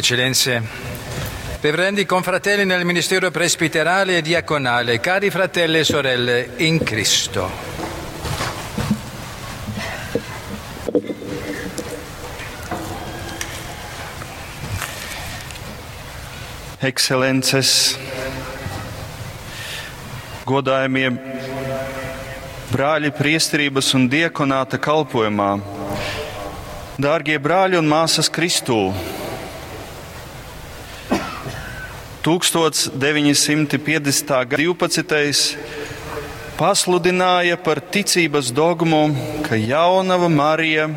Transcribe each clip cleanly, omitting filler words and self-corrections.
Eccellenze, reverendi confratelli nel ministero presbiterale e diaconale, cari fratelli e sorelle in Cristo. Ekscelences, godājamie brāļi priesterības un diakonāta kalpojumā, dārgie brāļi un māsas Kristū! 1950. gada 12. pasludināja par ticības dogmu, ka jaunava Marija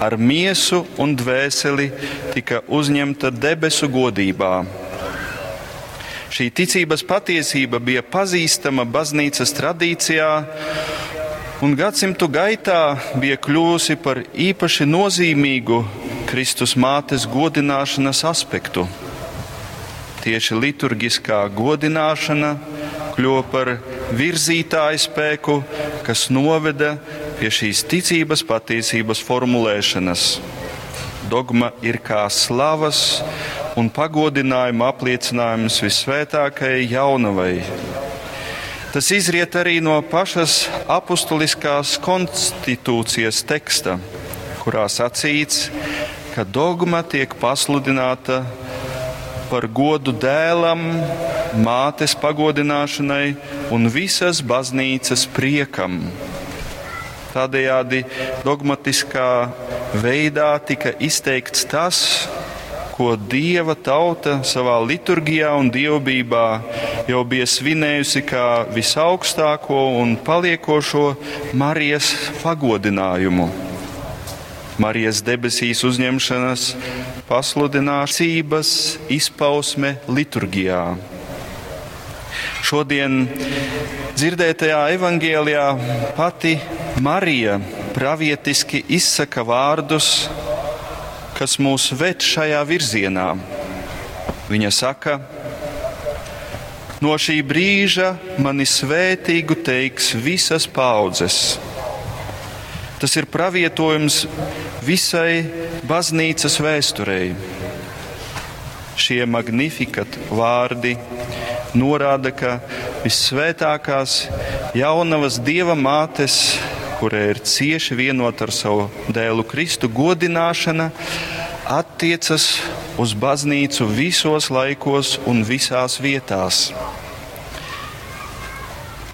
ar miesu un dvēseli tika uzņemta debesu godībā. Šī ticības patiesība bija pazīstama baznīcas tradīcijā un gadsimtu gaitā bija kļuvusi par īpaši nozīmīgu Kristus mātes godināšanas aspektu. Tieši liturgiskā godināšana kļuva par virzītāju spēku, kas noveda pie šīs ticības patiesības formulēšanas. Dogma ir kā slavas un pagodinājuma apliecinājums visvētākajai jaunavai. Tas izriet arī no pašas apustuliskās konstitūcijas teksta, kurā sacīts, ka dogma tiek pasludināta par godu dēlam, mātes pagodināšanai un visas baznīcas priekam. Tādējādi dogmatiskā veidā tika izteikts tas, ko Dieva tauta savā liturgijā un dievbijā jau bija svinējusi kā visaugstāko un paliekošo Marijas pagodinājumu. Marijas debesīs uzņemšanas pasludināšanas izpausme liturgijā. Šodien dzirdētajā evangelijā pati Marija pravietiski izsaka vārdus, kas mūs ved šajā virzienā. Viņa saka, no šī brīža mani svētīgu teiks visas paaudzes. Tas ir pravietojums visai baznīcas vēsturei. Šie magnificat vārdi norāda, ka vissvētākās jaunavas Dieva mātes, kura ir cieši vienota ar savu dēlu Kristu, godināšana attiecas uz baznīcu visos laikos un visās vietās.